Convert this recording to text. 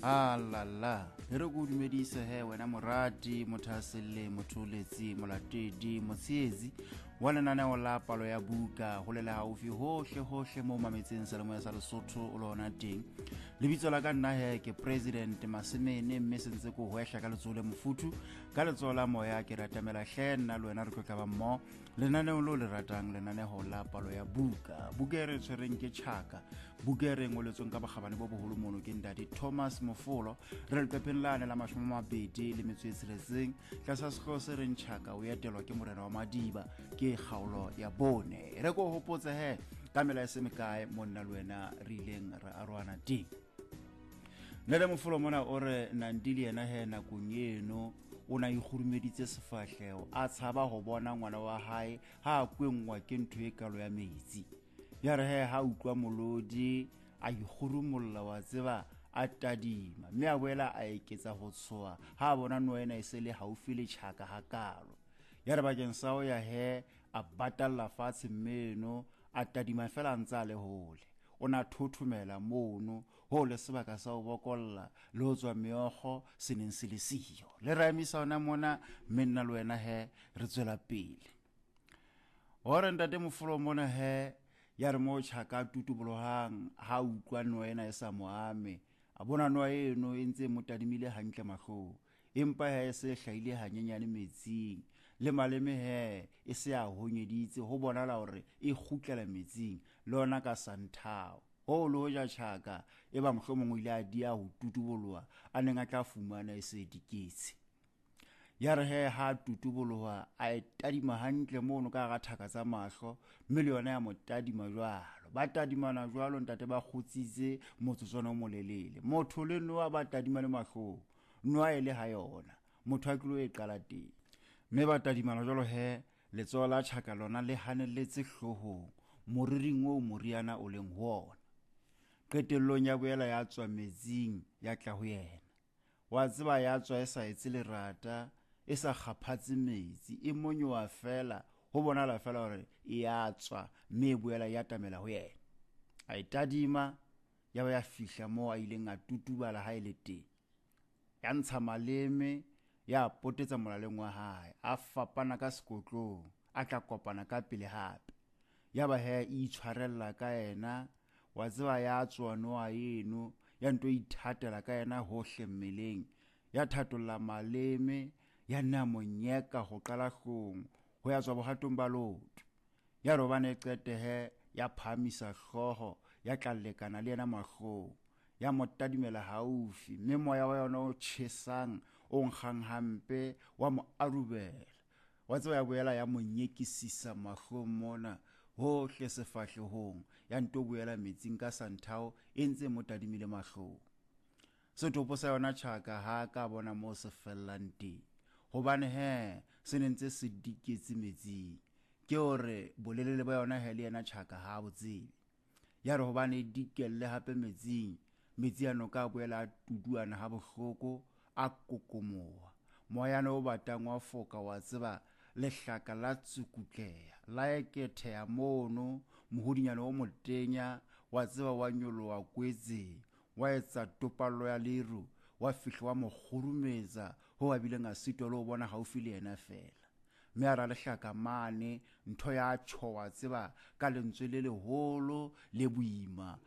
Alala, e re ko dumedise he wena morati, mothaselle, motholetsi, molatedi, motsheetsi wa lenaneo la palo ya buka go le gaufi hohle hohle mo mametseng selemoya sa Lesotho o le hona teng. Lebitso la ka nna he ke President Masemene, mme sentse ko hwehla ka letsoho le mofuthu, ka letsoho la moya ke ratamela hle nna le wena re tlo tlaba mmoho lenaneong lo le ratang, lenaneho la palo ya buka. Buka e re tshwereng ke Tjhaka, buka e re ngoletsweng ka bokgabane bo boholo mono ke ntate Thomas Mofolo. Re leqepheng lane la 26 tlasa sehlooho se reng Tjhaka o etelwa ke morena wa Madiba, ke kgaolo ya bone. Re ko hopotse he ka mela e se mekae mo nna le wena re ileng re arohana teng. Ntate Mofolo mona o re Nandi le yena he nakong eno o na ikgurumeditse sefahleho, a tshaba ho bona ngwana wa hae ha a kwenngwa ke ntho e kalo ya metsi. Ya re he ha utlwa molodi a ikgurumolla, wa tseba, a tadima, mme a boela a eketsa ho tshoha ha a bona noa ena e se le haufi le Tjhaka hakalo. Ya re bakeng sa ho ya he a batalla fatshe mmeno, a tadima fela a ntse a le hole. O na thothomela mono ho le sebaka sa ho bokolla le ho tswa meokgo se neng se le siyo. Le ra emisa hona mona, mme nna le wena he re tswela pele. Hore ntate Mofolo mona he ya re mo Tjhaka a tutubolohang ha utlwa noa ena e sa mo ame, a bona noa eno e ntse e mo tadimile hantle mahlong, empa he e se hlahile hanyenyane metsing, le maleme he e se a honyeditse, ho bonala hore e kgutlela metsing le ona ka santhao. Hoo le hoja Tjhaka e ba mohlomong o ile a dia ho tutuboloha, a neng a tla fumana e se diketse. Ya re he ha tutuboloha a e tadima hantle mono ka hara thaka tsa mahlo, mme le yona ya mo tadima jwalo. Ba tadimana jwalo ntate, ba kgutsitse motsotswana o molelele. Motho le noa ba tadimane mahlong, noa e le ha yona, motho a tlilo e qala teng. Mme ba tadimana jwalo he, letsoho la Tjhaka lona le hanelletse hloohong, moriring oo moriana o leng ho ona. Qetellong ya boela ya tswa metsing ya tla ho yena. Wa tseba ya tswa e sa etse lerata, e sa kgaphatse metsi, e monyoha fela, ho bonala fela hore e ya tswa, mme e boela ya atamela ho yena. A e tadima, ya ba ya fihla moo a ileng a tutubala ha e le teng. Ya ntsha maleme, ya potetsa molaleng wa hae, a fapana ka sekotlong, a tla kopana ka pele hape. Ya ba he e itshwarella ka yena, wa tseba ya tswa noa eno, ya nto ithatela ka yena hohle mmeleng, ya thatolla maleme, ya nna monyeka ho qala hlong, ho ya tswa bohatong ba leoto. Ya re hobane e qetehe, ya phahamisa hlooho, ya tla lekana le yena mahlong, ya mo tadimela haufi, mme moya wa yona o tjhesang, o nkgang hampe, wa mo arubela. Wa tseba ya boela ya mo nyekisisa mahlong mona, hohle sefahlehong, ya nto boela metsing ka santhao e ntse mo tadimile mahlong. Setopo sa yona Tjhaka ha ka bona moo se fellang teng, hobane he se ne ntse se diketse metsing. Ke hore bolelele ba yona he le yena Tjhaka ha bo tsebe. Ya re hobane e dikelle hape metsing, metsi a noka a boela a tuduana ha bohloko, a kokomoha. Moyana o batang wa foka, wa tseba, lehlaka la tsukutleha, la eketheha mono, mohodinyana o motenya, wa tseba, wa nyoloha kwetseng, wa etsa topallo ya leru, wa fihla wa mo kgurumetsa ho a bileng a sitwa le ho bona haufi le yena feela. Mme a ra lehlaka mane, ntho ya tjho, wa tseba, ka lentswe le leholo le boima.